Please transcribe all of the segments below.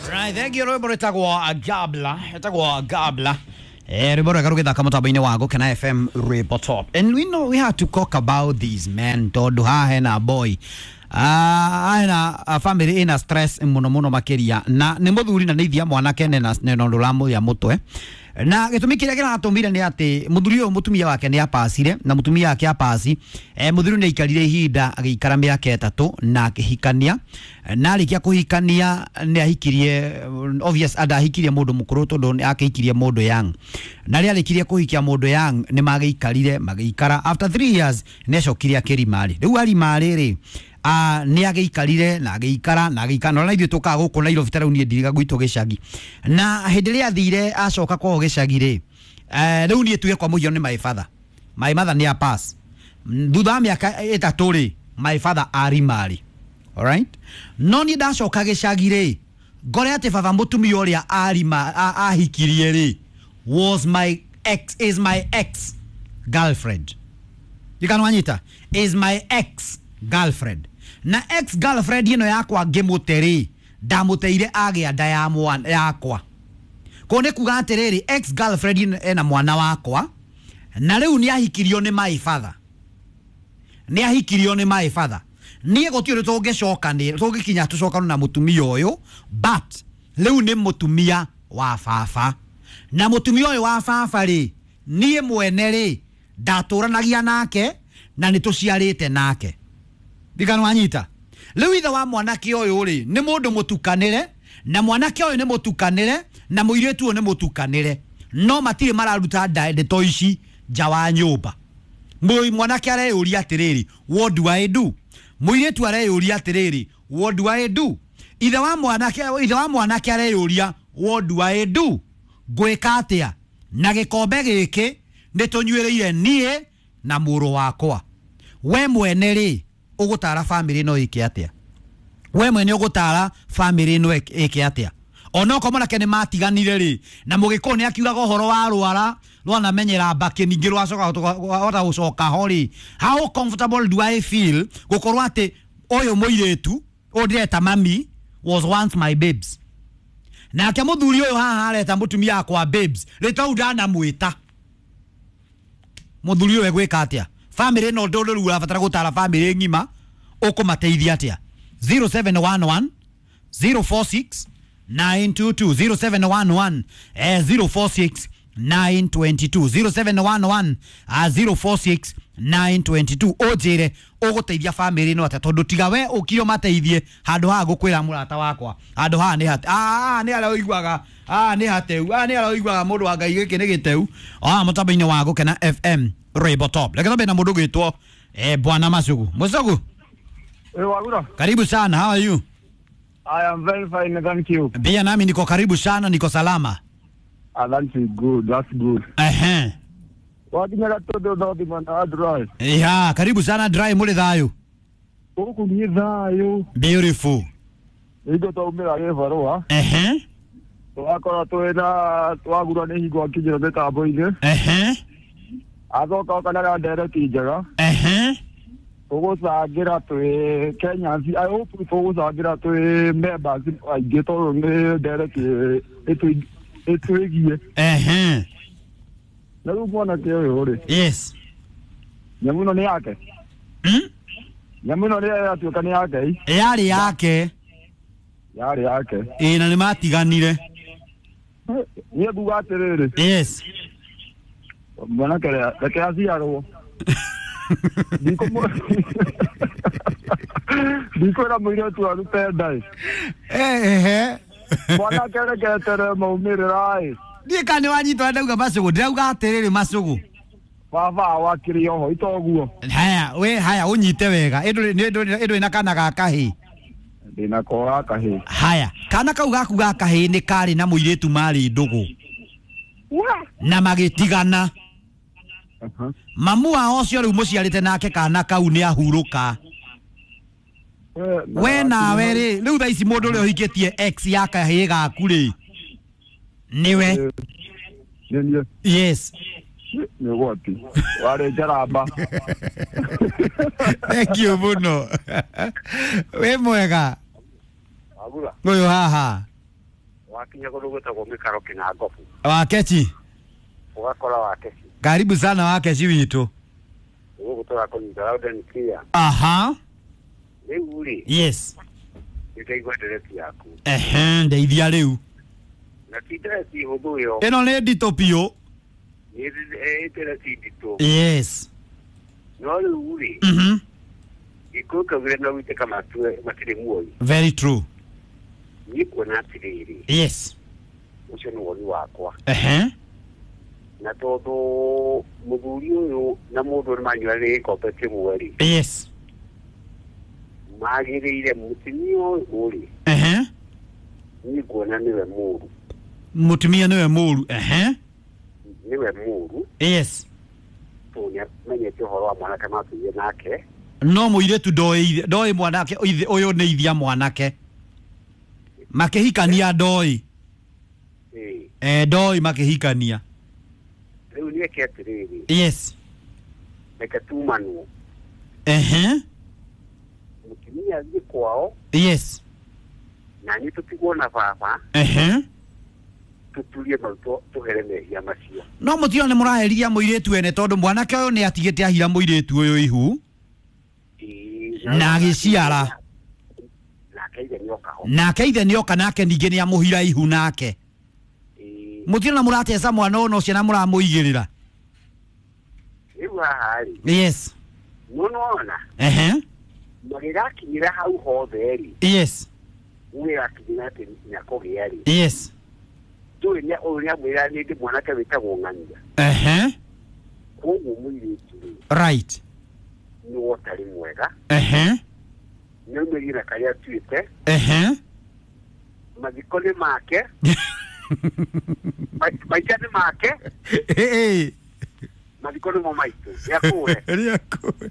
Right, thank you rwimbo rwitagwo Gabla, rwitagwo Gabla. Rwimbo rwega rũgĩthaka mũtambo-inĩ wa Gũkena FM Rwimbo Top. And we know we have to talk about these men tondũ haha hena boy. Hena family ina stress mũno mũno makĩria na nĩ mũthuri na nĩ ithia mwanake nĩ na ũndũ ũramũrĩa mũtwe na gĩtũmi kĩrĩa kĩratũmire nĩ atĩ mũthuri ũyũ mũtumia wake nĩ apacire na mũtumia wake apaci mũthuri nĩ aikarire ihinda agĩikara mĩaka 3 na akĩhikania na arĩkia kũhikania nĩ ahikirie obvious andahikirie mũndũ mũkũrũ tondũ nĩ akĩhikirie mũndũ young na rĩrĩa arĩkirie kũhikia mũndũ young nĩ magĩikarire magĩikara after 3 years nĩ acokire akĩrimarĩ rĩu arimarĩ rĩ nä agäikarire na agäikara na agäikara na ithuä tå kaga gå kå Nairobi ta rä u niä ndiriga gwitå gä cagi na hä ndä ä rä a athire acoka kwao gä cagi rä rä u niä tuge kwa må hiano nä my father my mother nä a pass thutha wa mä aka ä tatå rä my father arimarĩ alright no niä ndacoka gä cagi rä ngore atä baba må tumia å rä a arima ahikirie rä was my ex is my ex girlfriend ikanwanyita is my ex girlfriend na ex girlfriend ino yakwa ngimute ri ndamuteire agĩa nda ya mwana yakwa ko nĩ kuga atĩrĩrĩ ex girlfriend ino ena mwana wakwa na rĩu nĩ ahikirio nĩ my father nĩ ahikirio nĩ my father niĩ gũtirĩ ũndũ tũngĩcokanĩra tũngĩkinya tũcokane na mũtumia ũyũ but rĩu nĩ mũtumia wa baba na mũtumia ũyũ wa baba rĩ niĩ mwene rĩ ndatũranagia nake na nĩ tũciarĩte nake ndikanwanyita rĩu ithe wa mwanake ũyũ rĩ nĩ mũndũ mũtukanĩre na mwanake ũyũ nĩ mũtukanĩre na mũirĩtu ũyũ nĩ mũtukanĩre no matirĩ mararuta ndeto ici nja wa nyũmba mwanake areyũria atĩrĩrĩ what do I do mũirĩtu areyũria atĩrĩrĩ what do I do ithe wa mwanake areyũria what do I do ngwĩka atĩa na gĩkombe gĩkĩ nĩ tũnyuĩrĩire niĩ na mũrũ wakwa we mwene rĩ ũgũtara family no ĩke atĩa we mwene ũgũtara family no ĩke atĩa onokorwo mwanake nĩ matiganire rĩ na mũgĩkũyũ nĩ akiugaga ũhoro wa rwara rwanamenyera mbakĩ ningĩ rwacoka hota gũcoka ho rĩ how comfortable do I feel gũkorwo atĩ ũyũ mũirĩtu ũyũ ndĩreta mami was once my babes nake mũthuri ũyũ haha areta mũtumia wakwa babes rĩtwa rĩu ndanamwĩta mũthuri ũyũ egwĩka atĩa family no ndå rä u ũrabatara gũtara family ng'ima ũkũmateithia atĩa 0711 046 922 0711 046 922 0711 046 922 ũnjĩre ũgũteithia family ĩno atĩa tondũ tiga we ũkire ũmateithie handũ haha ngũkwĩra mũrata wakwa handũ haha nĩ hate nĩ harĩa ũiguaga nĩ hateu nĩ harĩa ũiguaga mũndũ wa Ngai gĩkĩ nĩ gĩteu mũtambo-inĩ wa Gũkena FM Rwimbo Top reke twambe na mũndũ ũgwĩtwo Bwana Masugu Masugu. Wagura. Karibu sana, how are you? I am very fine, thank you. Pia nami niko karibu sana, niko salama. That's good, that's good. Ehe. Wakinya todo dodi mana dry. Yeah, karibu sana dry muri thayo. Huku ni thayo. Beautiful. Igo taumira gĩbarũa. Ehe. Twakorwo twĩna twagura nĩ hingo akinyĩra mĩtambo-inĩ. Ehe. Athoka oka na ndereti njega. Ehe. Tũgũcangĩra twĩ Kenyans, I hope tũgũcangĩra twĩ members aingĩ tondũ nĩ ndereti ĩtwĩgie. Ehe. Na rĩu mwanake ũyũ rĩ. Yes. Nyamũ ĩno nĩ yake. Nyamũ ĩno nĩ yatuĩka nĩ yake. Yarĩ yake. Yarĩ yake. Ĩĩ na nĩ matiganire. Niĩ nguga atĩrĩrĩ. Yes. Mwanake reke aciarwo. Ndikwĩra mũirĩtu arute nda ĩ. Ehe. Mwanake reke eterere maumĩrĩra ĩ. Ndiĩ kana nĩ wanyita ndauga Masugu ndĩrauga atĩrĩrĩ Masugu. Baba wakĩrĩ oho itoguo. Haya we haya ũnyite wega ĩndũrĩ na kana ga kahĩĩ. Ndĩna ko ga kahĩĩ. Haya kana kau gaku ga kahĩĩ nĩ karĩ na mũirĩtu marĩ ndũgũ na magĩtigana. Mamu wao ũcio rĩu mũciarĩte nake kana kau nĩ ahurũka. We nawe rĩ rĩu thaa ici mũndũ ũrĩa ũhikĩtie ex ya kahĩĩ gaku rĩ nĩwe. Nĩ niĩ. Yes. Nĩ ũgwati warĩ njaramba. Thank you mũno. Wĩ mwega. Wagura. Ũyũ haha. Wakinya kũndũ gwĩtagwo mĩkaro kĩna ngobu. Wakechi. Ũgakora Wakechi. Karibu sana Wakechi witũ. Gũkũ tũrakũnyita loud and clear. Aha. Rĩu rĩ. Yes. Nĩndaigua ndereti yaku. Ehe, ndeithia rĩu. Na ti ndereti hũthũ ĩyo. Ĩno nĩ nditũ biũ. Nĩ ndereti nditũ. Yes. No rĩu rĩ. Mhm. Gĩkũyũ kaugire no gũitĩka matue matirĩ muoyo. Very true. Niĩ kuona atĩrĩrĩ. Yes. Ũcio nĩ woni wakwa. Ehe. Na tondũ mũthuri ũyũ na mũndũ nĩ manyuanĩire gĩkombe kĩmwe rĩ. Yes. Magĩrĩire mũtumia ũyũ rĩ. Ehe. Niĩ nguona nĩwe mũũru. Mũtumia nĩwe mũũru. Ehe. Nĩwe mũũru. Yes. Tondũ nĩamenyete ũhoro wa mwanake matũire nake. No mũirĩtu ndoĩ ndoĩ mwanake ũyũ nĩ ithia mwanake. Makĩhikania ndoĩ. Eh, ndoĩ makĩhikania. Rĩu nĩeke atĩrĩrĩ. Yes. Reke tumanwo. Ehe. Mũtumia athiĩ kwao. Yes. Na niĩ tũtigwo na baba. Ehe. Tũturie mau tũhere mehia macio. No mũtio nĩ mũraherithia mũirĩtu ene tondũ mwanake ũyũ nĩ atigĩte ahira mũirĩtu ũyũ ihu. Na agĩciara. Nake ithe nĩoka ho. Nake ithe nĩoka nake ningĩ nĩamũhira ihu nake. Mũtio na mũrateca mwana ũyũ no ciana mũramũigĩrĩra. Rĩu haha rĩ. Yes. No nĩwona. Ehe. Magĩgakinyĩra hau hothe rĩ. Yes. Ũgĩgakinyĩra atĩ nĩakũgĩa rĩ. Yes. Ndũĩ ũyũ nĩamwĩra nĩ ndĩ mwanake wĩtagwo Ng'ania. Ehe. Koguo mũirĩtu rĩ. Right. Nĩ wotarĩ mwega. Ehe. Nĩaumĩrire na karĩa atuĩte. Ehe. Mathiko nĩ make. Maica nĩ make. Mathiko nĩmo maitũ. Nĩakũre. Nĩakũre.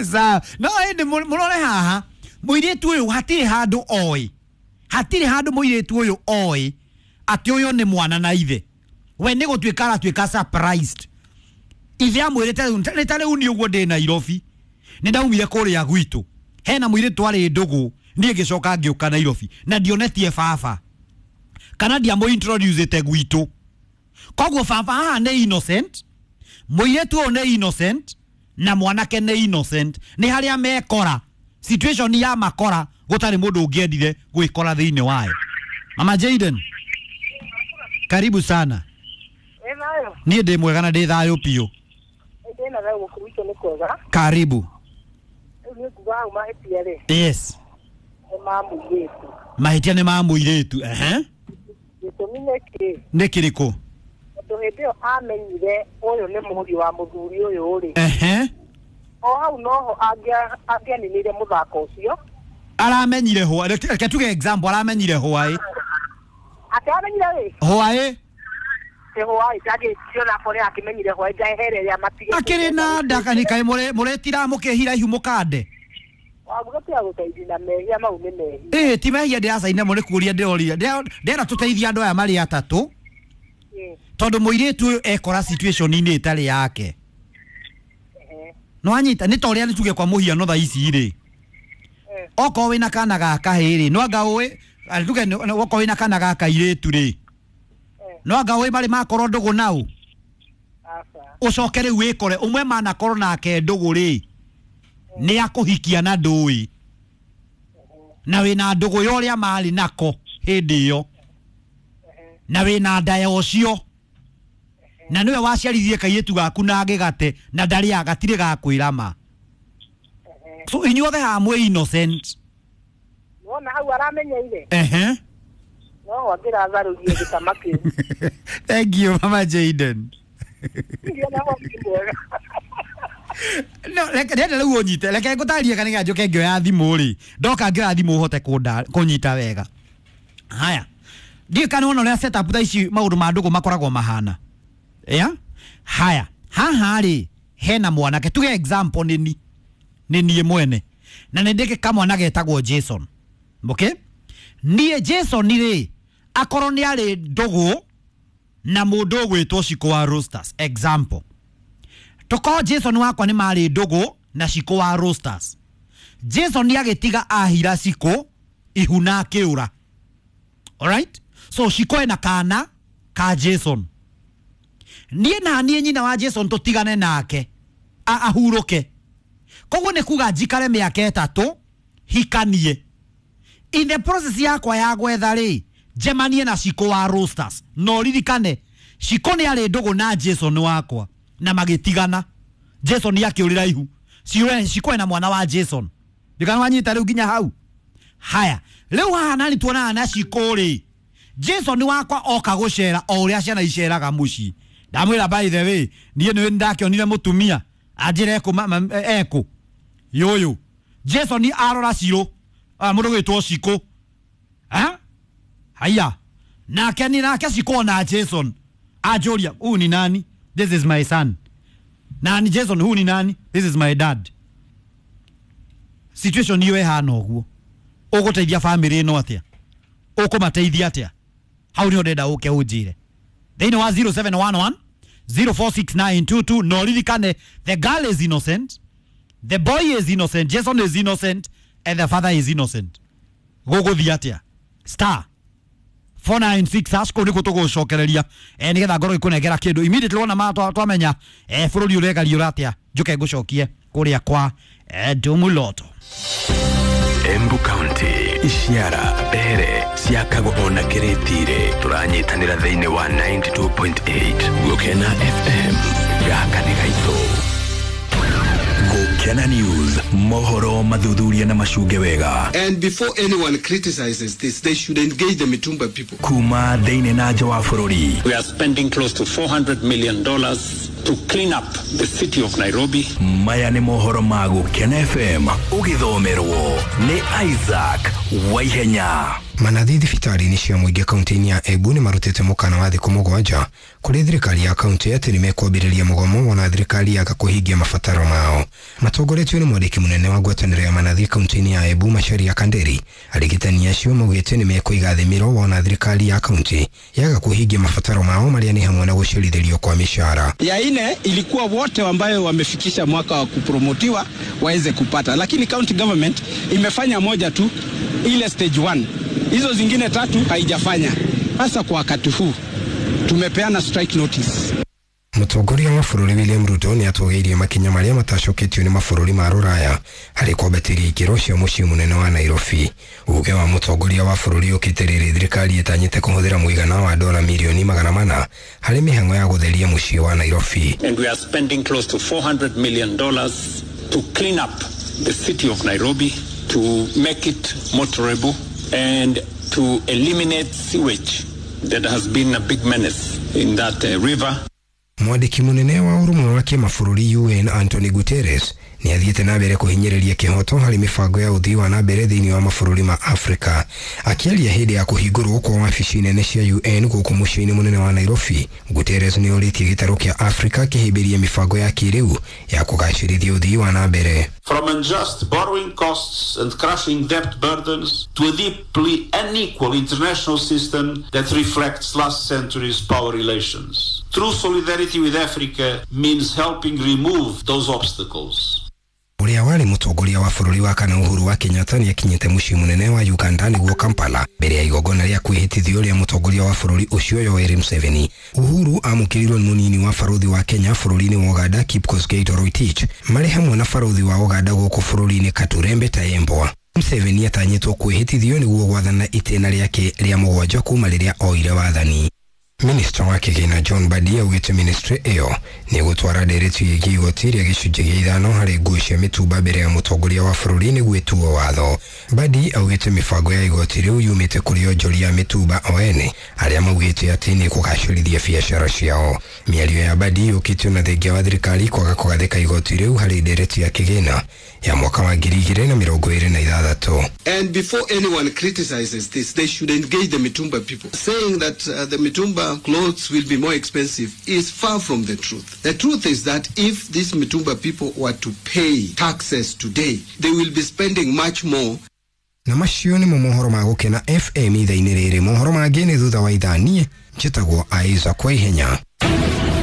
Sawa. No ĩndĩ mũrore haha. Mũirĩtu ũyũ hatirĩ handũ oĩ. Hatirĩ handũ mũirĩtu ũyũ oĩ atĩ ũyũ nĩ mwana na ithe. We nĩ gũtuĩka aratuĩka surprised. Ithe amwĩrĩte nĩ ta rĩu niĩ ũguo ndĩ Nairobi. Nĩ ndaumire kũrĩa gwitũ. Hena mũirĩtu arĩ ndũgũ. Niĩ ngĩcoka ngĩũka Nairobi. Na ndionetie baba. Kana ndiamũ-introducĩte gwitũ. Koguo baba haha nĩ innocent. Mũirĩtu ũyũ nĩ innocent. Na mwanake nĩ innocent. Nĩ harĩa mekora. Situation ya makora gũtarĩ mũndũ ũngĩendire gwĩkora thĩinĩ wayo. Mama Jaden. Karibu sana. Niĩ ndĩ mwega na ndĩ thayũ biũ. Ndĩna thayũ gũkũ gwitũ nĩ kwega. Karibu. Rĩu niĩ nguga hau mahĩtia rĩ. Yes. Nĩ ma mũirĩtu. Mahĩtia nĩ ma mũirĩtu. Ehe. Gĩtũmi nĩ kĩ? Nĩ kĩrĩkũ? Tondũ hĩndĩ ĩyo amenyire ũyũ nĩ mũriũ wa mũthuri ũyũ rĩ. Ehe. O hau noho angĩaninire mũthako ũcio. Aramenyire hwa. Reke tuge example aramenyire hwaĩ. Atĩ amenyire rĩ? Hwaĩ. Hwaĩ ndangĩkiona akorwo akĩmenyire hwaĩ njahere ĩrĩa matigĩte. Akĩrĩ na nda kana kaĩ mũretira mũkĩhira ihu mũkande. Wabuga tiga gũteithia na mehia mau nĩ mehia. Ĩĩ ti mehia ndĩracaina mo nĩ kũria ndĩroria. Ndĩrenda tũteithie andũ aya marĩ atatũ. Tondũ mũirĩtu ũyũ ekora situation-inĩ ĩtarĩ yake. No anyita nĩ ta ũrĩa nĩ tuge kwa mũhiano thaa ici rĩ. Okorwo wĩna kana ga kahĩĩ rĩ, no anga ũĩ tuge okorwo wĩna kana ga kairĩtu rĩ. No anga ũĩ marĩ makorwo ndũgũ nau. Ũcoke rĩu wĩkore ũmwe manakorwo nake ndũgũ rĩ. Nĩ akũhikia na ndũĩ. Na wĩna ndũgũ ya ũrĩa marĩ nako hĩndĩ ĩyo. Na wĩna nda ya ũcio. Na nĩwe waciarithirie kairĩtu gaku na agĩgate na ndarĩ gatirĩ gakwĩra ma. So inyuothe haha mwĩ innocent. Wona hau aramenyeire. Ehe. No angĩratharũrie gĩtama kĩu. Thank you Mama Jaden. No reke ndenda rĩu ũnyite. Reke ngũtarĩrie kana njoke ngĩoya thimũ rĩ. Ndoka ngĩoya thimũ ũhote kũnyita wega. Haya. Ndiũĩ kana wona ũrĩa setup thaa ici maũndũ ma ndũgũ makoragwo mahana. Yeah? Haya. Haha rĩ hena mwanake tuge example nĩ niĩ mwene. Na nĩ ndĩkĩ kamwana getagwo Jason. Okay? Niĩ Jason rĩ akorwo nĩ arĩ ndũgũ na mũndũ ũgwĩtwo Shiko wa Roasters. Example. Tokorwo Jason wakwa nĩ marĩ ndũgũ na Shiko wa Roasters. Jason nĩ agĩtiga ahira Shiko ihu na akĩũra. Alright, so Shiko ena kana ka Jason. Niĩ na niĩ nyina wa Jason tũtigane nake ahurũke. Koguo nĩ kuga njikare mĩaka 3 hikanie. In the process yakwa ya gwetha rĩ, njemanie na Shiko wa Roasters. No ririkane Shiko nĩ arĩ ndũgũ na Jason wakwa na magĩtigana. Jason akĩũrĩra ihu. Shiko ena mwana wa Jason. Ndikana wanyita rĩu nginya hau. Haya, rĩu haha nani tuonaga na Shiko rĩ, Jason wakwa oka gũcera o ũrĩa ciana iceraga mũciĩ. Ndamwĩra by the way, niĩ nĩ ndakĩonire mũtumia anjĩra ekũ ekũ yũyũ. Jason arora Shiro, mũndũ gwĩtwo Shiko. Haya, nake ni nake Shiko na Jason anjũria, huyu ni nani? This is my son. Nani Jason, huyu ni nani? This is my dad. Situation iyo ĩhana ũguo, ũgũteithia family ĩno atĩa? Ũkũmateithia atĩa? Hau nĩho ndĩrenda ũke ũnjĩre thĩinĩ wa 0711 046922. No ririkane, the girl is innocent, the boy is innocent, Jason is innocent and the father is innocent. Gũgũthiĩ atĩa? Star 496 hash, kũu nĩkuo tũgũcokereria nĩgetha ngorwo ngĩkũnengera kĩndũ immediately wona ma twamenya bũrũri ũregariũra atĩa, njũke ngũcokie kũrĩa kwa Ndumuloto. Embu County, Ishiara, Mbere, ciakagwo ona Kĩrĩtire. Tũranyitanĩra thĩinĩ wa 92.8 Gũkena FM. Gaka nĩ gaitũ. Gũkena News, mohoro mathuthuria na macunge wega. And before anyone criticizes this, they should engage the Mitumba people. Kuma thĩinĩ na nja wa bũrũri. We are spending close to $400 million to clean up the city of Nairobi. Maya nĩ mohoro ma Gũkena FM, ũgĩthomerwo nĩ Isaac Waihenya. Manathi thibitarĩ-inĩ cia mũingĩ kaunti-inĩ ya Embu nĩ marutĩte mũkana wa thikũ 7 kũrĩ thirikari ya kaunti atĩ nĩ mekwambĩrĩria mũgomo wona thirikari yaga kũhingia mabataro mao. Matongoretio nĩ mwandĩki mũnene wa ngwatanĩro ya manathi kaunti-inĩ ya Embu Macharia Kanderi, arigitani acio maugĩte nĩ mekũiga thĩ mĩro wona thirikari ya kaunti yaga kũhingia mabataro mao marĩa nĩ hamwe na gũcerithĩrio kwa mishahara. Ya ine ilikuwa wote ambayo wamefikisha mwaka wa kupromotiwa waweze kupata, lakini county government imefanya moja tu, ile stage 1. Hizo zingine 3 haijafanya. Sasa kwa wakati huu tumepeana strike notice. Mũtongoria wa bũrũri William Ruto nĩ atũgĩirie makinya marĩa matacoketio nĩ mabũrũri ma rũraya harĩ kwambatĩria ikĩro cia mũciĩ mũnene wa Nairobi. Uge wa mũtongoria wa bũrũri ũkĩte rĩrĩ thirikari ĩtanyĩte kũhũthĩra mũigana wa dola mirioni 400 harĩ mĩhang'o ya gũtheria mũciĩ wa Nairobi. And we are spending close to $400 million to clean up the city of Nairobi, to make it motorable and to eliminate sewage that has been a big menace in that river. Mwandĩki mũnene wa ũrũmwe wa kĩmabũrũri UN Anthony Guterres nĩ athiĩte na mbere kũhinyĩrĩria kĩhoto harĩ mĩbango ya ũthii wa na mbere thĩinĩ wa mabũrũri ma Afrika. Akĩaria hĩndĩ ya kũhingũrwo kwa wabici nene cia UN gũkũ mũciĩ-inĩ mũnene wa Nairobi, Guterres nĩ orĩtie gĩtarũ kĩa Afrika kĩhĩmbĩrie mĩbango ya kĩrĩu ya kũgacĩrithia ũthii wa na mbere. From unjust borrowing costs and crushing debt burdens to a deeply unequal international system that reflects last century's power relations. True solidarity with Africa means helping remove those obstacles. Ũrĩa warĩ mũtongoria wa bũrũri wa kana Uhuru wa Kenyatta nĩ akinyĩte mũciĩ mũnene wa Uganda nĩguo Kampala mbere ya igongona rĩa kwĩhĩtithio rĩa mũtongoria wa bũrũri ũcio Yoweri Museveni. Uhuru amũkĩrirwo nĩ mũnini wa barũthi wa Kenya bũrũri-inĩ wa Uganda Kipkosgei Toroitich marĩ hamwe na barũthi wa Uganda gũkũ bũrũri-inĩ Katurembe Tayembwa. Museveni atanyĩtwo kwĩhĩtithio nĩguo gwathana itĩna rĩake rĩa 7 kuma rĩrĩa oire wathani. Minister wa kĩgĩna John Mbadi augĩte ministry ĩyo nĩ gũtwara ndereti ĩgiĩ igoti rĩa gĩcunjĩ gĩa 5 harĩ nguo cia mĩtumba mbere ya mũtongoria wa bũrũri nĩguo ĩtuo watho. Mbadi augĩte mĩbango ya igoti rĩu yumĩte kũrĩ onjoria a mĩtumba o ene arĩa maugĩte atĩ nĩ kũgacĩrithia biacara ciao. Mĩario ya Mbadi yũkĩte ona thengia wa thirikari kwaga kũgathĩka igoti rĩu harĩ ndereti ya kĩgĩna ya mwaka wa 2026. And before anyone criticizes this, they should engage the Mitumba people. Saying that the Mitumba clothes will be more expensive is far from the truth. The truth is that if these Mitumba people were to pay taxes today, they will be spending much more. Na macio nĩmo mohoro ma Gũkena FM ithaa-inĩ rĩrĩ. Mohoro mangĩ nĩ thutha wa ithaa. Niĩ njĩtagwo Isaac Waihenya.